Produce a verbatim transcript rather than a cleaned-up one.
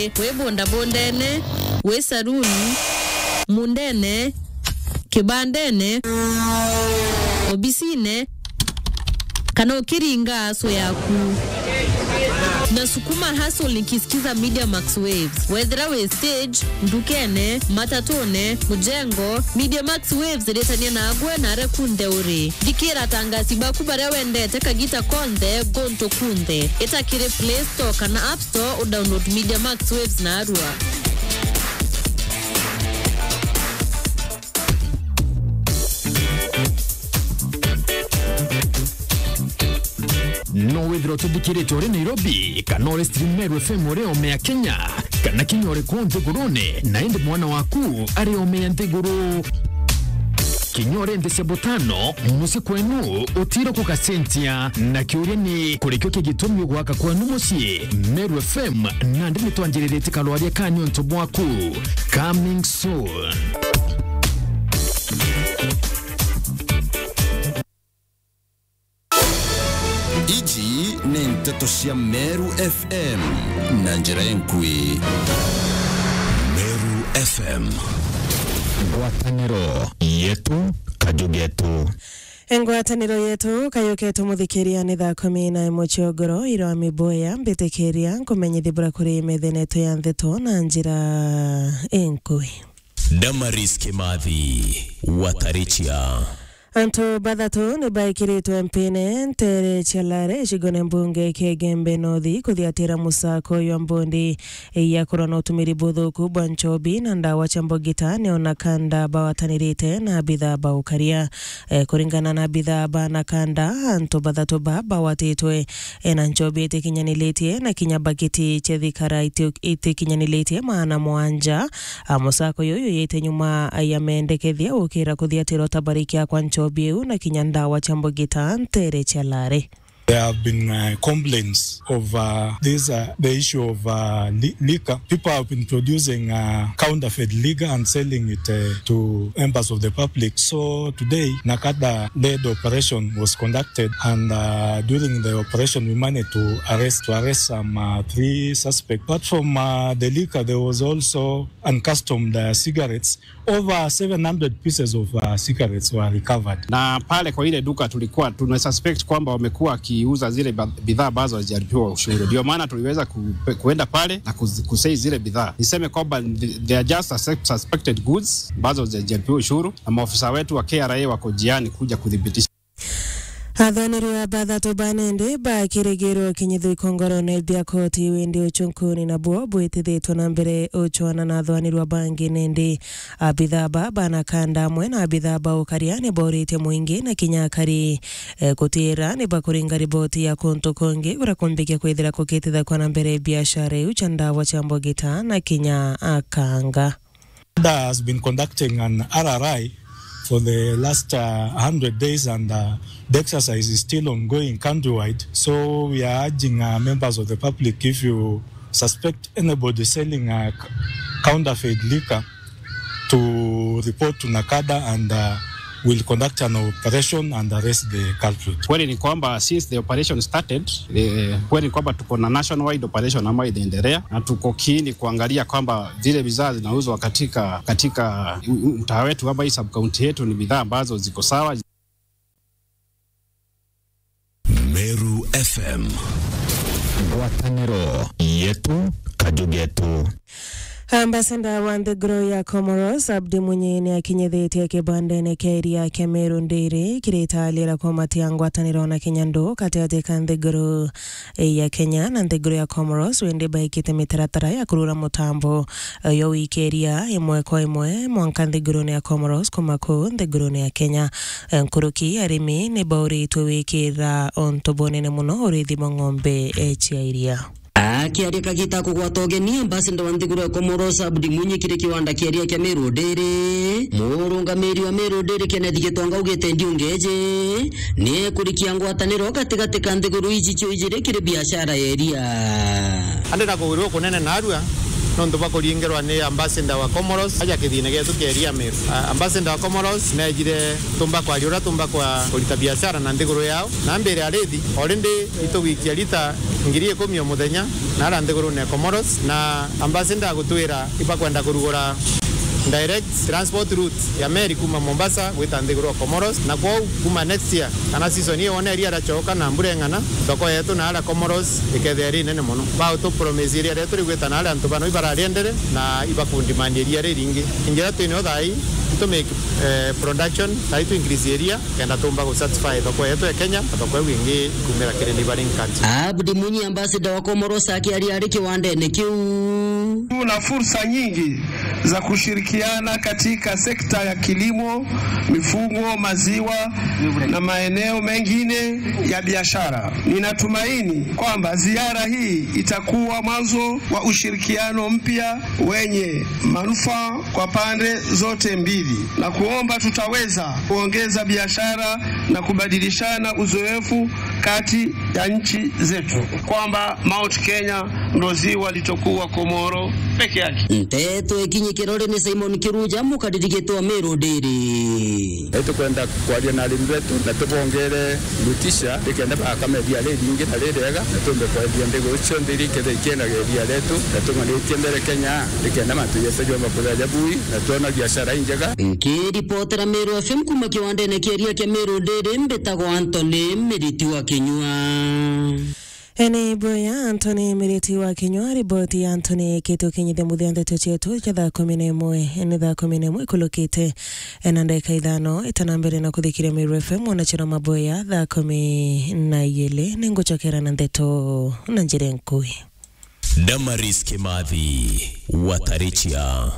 Wi bundabundene, wi saruni, mundene, kibandene, obisine, kana ukiringa aso yaku. Nasukuma hustle nikisikiza Media Max Waves. Wethira wi stage, ndukene, matatune, mujengo, Media Max Waves iritania nagwe na aria kunthe uri. Thikira atangasi baku baria wendete kagita konthe, guntu kunthe. Ita kiri Play Store kana App Store udownload Media Max Waves narua. No withirwa ututhikirite uri Nairobi, kana uri stream Meru F M uri ome ya Kenya, kana kinya uri kuu nthigurune, na indi mwana waku ari ome ya nthiguru. Kinya uri nthi cia butano, mucii kwenu utiro kugacenjia. Na kiuria ni, kurikio ki gitumi ugwaka kwenu mucii? Meru F M, nandi nitwanjiriritie karwaria ka niuntu bwaku. Coming soon. Iji ni nteto cia Meru F M na njira inkui. Meru F M. Ngwataniro yetu, kaju getu. Ngwataniro yetu, kaju getu muthikiria, ni thaa kumi na imwe cia ugoro, irwa miboya, mbitikiria nkumenyithie bura kuri methene yetu ya ntheto na njira inkui. Damaris Kimathi, Watarichia. Antu bathatu ni baikiritwe mpine ntere cia Lare, gicigone mbunge kia Igembe North, kuthiatira musako jwa mbondi ya kurwa na utumiri buthuku bwa nchobi na ndawa cia mbogita, ni ona kanda bawatanirite na abithaa ba ukaria. Eh, kuringana na abithaa ba na kanda, antu bathatu ba bawatitwe, eh, na nchobi itikinyaniritie na kinya bagiti cia thikara iti-, itikinyaniritie maana mwanja. A, musako juju jujite nyuma ya mendekethia gukira kuthiatirwa tabarikia kwa nchobi iu na kinya ndawa cia mbogita ntere cia Lare. There have been, uh, complaints of, uh, this, uh, the issue of, uh, li-, liquor. People have been producing, uh, counterfeit liquor and selling it, uh, to members of the public. So today, NACADA led operation was conducted, and, uh, during the operation, we managed to arrest, to arrest some, uh, three suspects. Apart from, uh, the liquor, there was also uncustomed, uh, cigarettes. Over seven hundred pieces of, uh, cigarettes were recovered. Na pale kwa ile duka tulikuwa tuna suspect kwamba wamekuwa wakiuza zile ba-, bidhaa ambazo hazijalipiwa ushuru. Ndio maana tuliweza ku-, kuenda pale na kuz-, kuseize zile bidhaa. Niseme kwamba th-, they are just sus-, suspected goods ambazo hazijalipiwa ushuru, na maofisa wetu wa K R A wako njiani kuja kuthibitisha. Athanirwa bathatu ba nende bakirigirwo kinyitho ikongorone bia koti, windi uchunkuni nabwo bwitithitwe na mbere uchwana na athanirwa bangi nende. Abithaa ba banakanda amwe na abithaa ba ukaria ni bauritie mwingi na kinya akari, eh, kutira ni bakuringa riboti ya kuntu kungi kuria kumbikia kwithira kukitithakwa na mbere biashara iu cia ndawa cia mbogita na kinya akanga. NACADA has been conducting an R R I for the last, uh, hundred days, and, uh, the exercise is still ongoing countrywide. So we are urging, uh, members of the public, if you suspect anybody selling, uh, c-, counterfeit liquor, to report to NACADA, and, uh, will conduct an operation and arrest the culprit. Kweli ni kwamba since the operation started, eh, kweli ni kwamba tuko na nationwide operation ambayo inaendelea, na tuko keen kuangalia kwamba zile bidhaa zinauzwa katika, katika u-, u-, mtaa wetu ama hii sub-county yetu ni bidhaa ambazo ziko sawa. Meru F M. Ngwataniro yetu, kaju getu. Ambassador wa nthiguru ya Comoros, Abdi Mwinyi, ni akinyithitie kibandene kia iria kia Meru Ndiri, kiritaaliira kumatia ngwataniro na kinya ndu gatiati ka nthiguru ya Kenya na nthiguru ya Comoros, windi baikite mitaratara ya kurura mutambo, eh, yo wikiria imwe kwa imwe mwanka nthigurune ya Comoros kuma kuu nthigurune ya Kenya. Eh, nkuruki arimi ni bauritwe wikira untu bunene muno urithi bwa ng'ombe, eh, cia iria. Akiaria kagita kugwata ugeni, ambassador wa nthiguru ya Comoros, Abdi Mwinyi, kiri kiwanda kia iria kia Meru Dairy, murungamiri wa Meru Dairy, Kenneth Gitonga, augite ndiungeji ni ekurikia ngwataniro gatigati ka nthiguru iji cio ijiri kiri biashara ya iria. Andi na kugwirwo kunene narua, nontu bwa kuringirwa ni ambassador wa Comoros aja kithine gietu kia Eria Meru. A-, ambassador wa Comoros neejire tumba kwaria uria tumba kwa kurita biashara na nthiguru yao, na mbere arithi already itugwikia lita ngiri ikumi o muthenya na ara nthigurune ya Comoros, na ambassador agutwira ibakwenda kurugura direct transport route ya meri kuma Mombasa gwita nthiguru ya Comoros, na kwou kuma next year kana season iyo wona iria riacoka na mbura ing'ana, thoko yetu na ara Comoros ikethia iri nene mono. Bautu promise iria rietu rigwita na aria antu bano ibarariendere na ibakundimania iria riringi. Njira twinio thaa ii itu make, eh, production, thaa ii tu increase iria kenda tumba gu satisfy thoko yetu ya Kenya, na thoko iu ingi ikumira kiri neighboring country. Abdi Mwinyi, ambassador wa Comoros, akiaria ari kiwandene kiu. Tuna fursa nyingi za kushirikiana katika sekta ya kilimo, mifugo, maziwa na maeneo mengine ya biashara. Ninatumaini kwamba ziara hii itakuwa mwanzo wa ushirikiano mpya wenye manufaa kwa pande zote mbili, na kuomba tutaweza kuongeza biashara na kubadilishana uzoefu kati ya nchi zetu, kwamba Mount Kenya ndo ziwa litokuwa Komoro peke yake. Nteto ikinyi kirori ni Simon Kiruja, mukariri gitwa Meru Daily. Itukwenda kwaria na arimi betu na tubongere motisha, nikenda bakame ria riringi na ririega, na tumbe kwendia nthiguru cionthe iria ikethira ikiendaga iria rietu, na tung'anitie mbere Kenya, nikenda mantu jetu jomba kuthea jabui, na twona biashara injega. Nkiripotera Meru F M kuma kiwandene kia iria kia Meru Daily, mbitagwa Anthony Miriti wa Kinyua. Ene boya Anthony Miriti wa Kinyua, riboti ya Anthony kitu kinyithia muthia ndeto cietu cia thaa kumi na imwe. Ni thaa kumi na imwe ikulukite na ndagika ithano. Itana mbere na kuthikiria Meru F M, mwanachira maboya thaa kumi na igiri, ningucokera na ndeto na njira nkui. Damaris Kimathi, Watarichia.